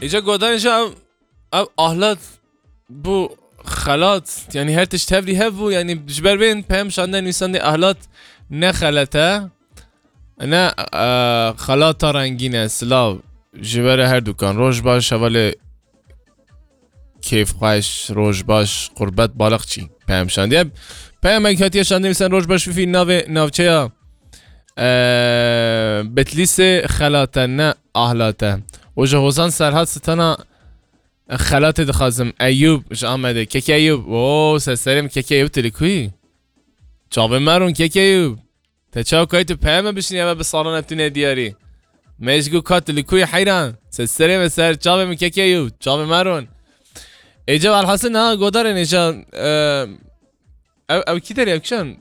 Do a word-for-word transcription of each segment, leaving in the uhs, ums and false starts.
Îca godarên jî ev, ev ahlat bû xelat. Yanî her tişt hevrî hev bû. Yanî ji ber vê peyam şandin nivîsandê ahlat ne xelet e. Ne, e, xelata rengîn e. Silav ji we re her dukan. Roj baş hevalê kêfxweş, roj baş, qurbet balixçî. Peyam şandiye. Peyamek hatiye şandin nivîsandê roj baş Fîfî navê navçeya, e, Bitlîsê xelate ne ahlate. Û ji Hozan Serhat Stana xelatê dixwazim. Eyûb ji Amedê. Keke Eyûb. Oo, ser serê min Keke Eyûb, tu li ku yî? Çavê me rûn Keke Eyûb. Te çawa kayî tu peyame bişînî, eve bi salan ev tune diyarî. Me ji ku ka tu li ku yî heyran. Ser serê min, ser çavê min Keke Eyûb. Çavê me rûn. Êca alhasil niha godarên êca, e, ev, ev kî derê, ev kîjan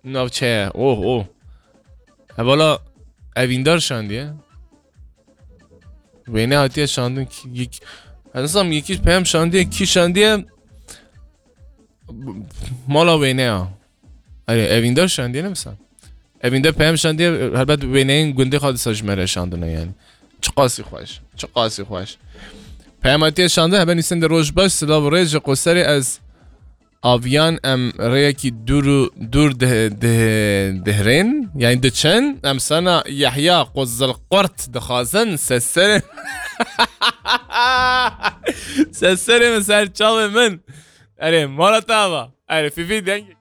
navçe ye? Oh, oh. Hevala evîndar şandiye. Wêne hatiye şandin ki, yek-, ez nizam yekî peyam şandiye, kî şandiye? Mala wêne ya. Erê, evîndar şandiye ne mesela? Evîndar peyam şandiye, helbet wêneyên gundê xwe disa ji me re şandine yani. Çiqasî xweş, çiqasî xweş. Peyam hatiye şandin, hebe nivîsandê roj baş, silav û rêz ji Qoserê ez aviyan em rêyekî dûr û dûr dih-, dih-, dihirên, yani diçin, em sana Yehya Quzilqurt dixwazin, ser serê, ser serê min, ser çavê min. Erê, mala te ava. Erê, Fîfî dengê.